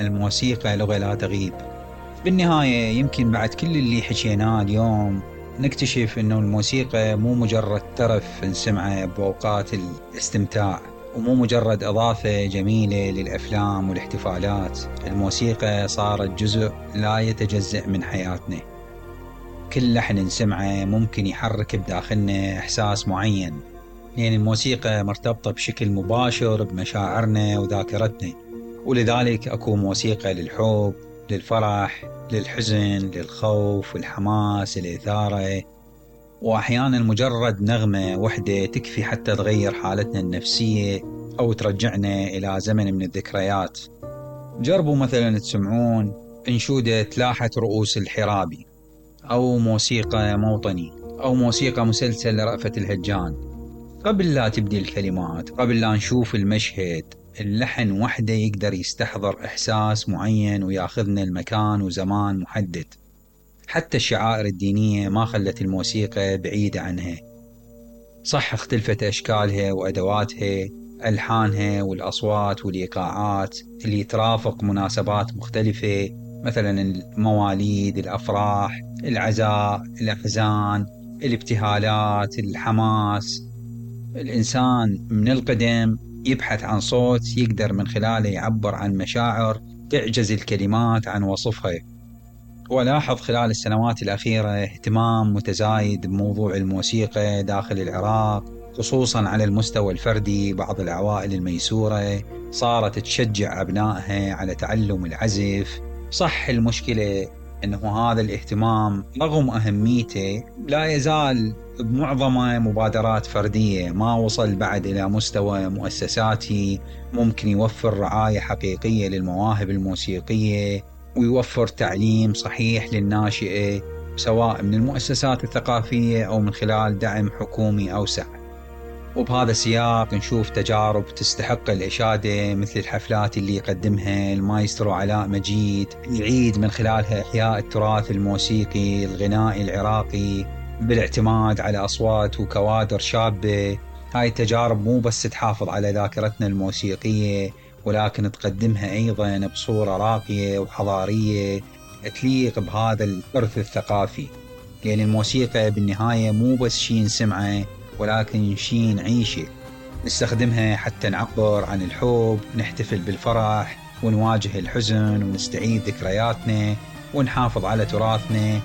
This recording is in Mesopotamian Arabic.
الموسيقى لغة لا تغيب. بالنهاية يمكن بعد كل اللي حكيناه اليوم نكتشف انه الموسيقى مو مجرد ترف نسمعه بأوقات الاستمتاع، ومو مجرد إضافة جميلة للأفلام والاحتفالات. الموسيقى صارت جزء لا يتجزأ من حياتنا. كل لحن نسمعه ممكن يحرك بداخلنا إحساس معين، لأن الموسيقى مرتبطة بشكل مباشر بمشاعرنا وذاكرتنا. ولذلك أكو موسيقى للحب، للفرح، للحزن، للخوف والحماس، الإثارة. وأحيانا مجرد نغمة وحدة تكفي حتى تغير حالتنا النفسية أو ترجعنا إلى زمن من الذكريات. جربوا مثلا تسمعون أنشودة لاحة رؤوس الحرابي، أو موسيقى موطني، أو موسيقى مسلسل لرأفت الهجان. قبل لا تبدي الكلمات، قبل لا نشوف المشهد، اللحن وحده يقدر يستحضر إحساس معين وياخذنا المكان وزمان محدد. حتى الشعائر الدينية ما خلت الموسيقى بعيدة عنها. صح اختلفت أشكالها وأدواتها، ألحانها والأصوات والإيقاعات اللي ترافق مناسبات مختلفة، مثلا المواليد، الأفراح، العزاء، الأحزان، الابتهالات، الحماس. الإنسان من القدم يبحث عن صوت يقدر من خلاله يعبر عن مشاعر تعجز الكلمات عن وصفها. ولاحظ خلال السنوات الأخيرة اهتمام متزايد بموضوع الموسيقى داخل العراق، خصوصا على المستوى الفردي. بعض العوائل الميسورة صارت تشجع أبنائها على تعلم العزف. صح المشكلة أنه هذا الاهتمام رغم أهميته لا يزال بمعظمه مبادرات فردية، ما وصل بعد إلى مستوى مؤسساتي ممكن يوفر رعاية حقيقية للمواهب الموسيقية ويوفر تعليم صحيح للناشئة، سواء من المؤسسات الثقافية أو من خلال دعم حكومي أوسع. وبهذا السياق نشوف تجارب تستحق الإشادة، مثل الحفلات اللي يقدمها المايسترو علاء مجيد، يعيد من خلالها إحياء التراث الموسيقي الغنائي العراقي بالاعتماد على أصوات وكوادر شابة. هاي التجارب مو بس تحافظ على ذاكرتنا الموسيقية، ولكن تقدمها أيضا بصورة راقية وحضارية تليق بهذا الإرث الثقافي. لأن الموسيقى بالنهاية مو بس شي نسمعه، ولكن شي نعيشه، نستخدمها حتى نعبر عن الحب، نحتفل بالفرح، ونواجه الحزن، ونستعيد ذكرياتنا، ونحافظ على تراثنا.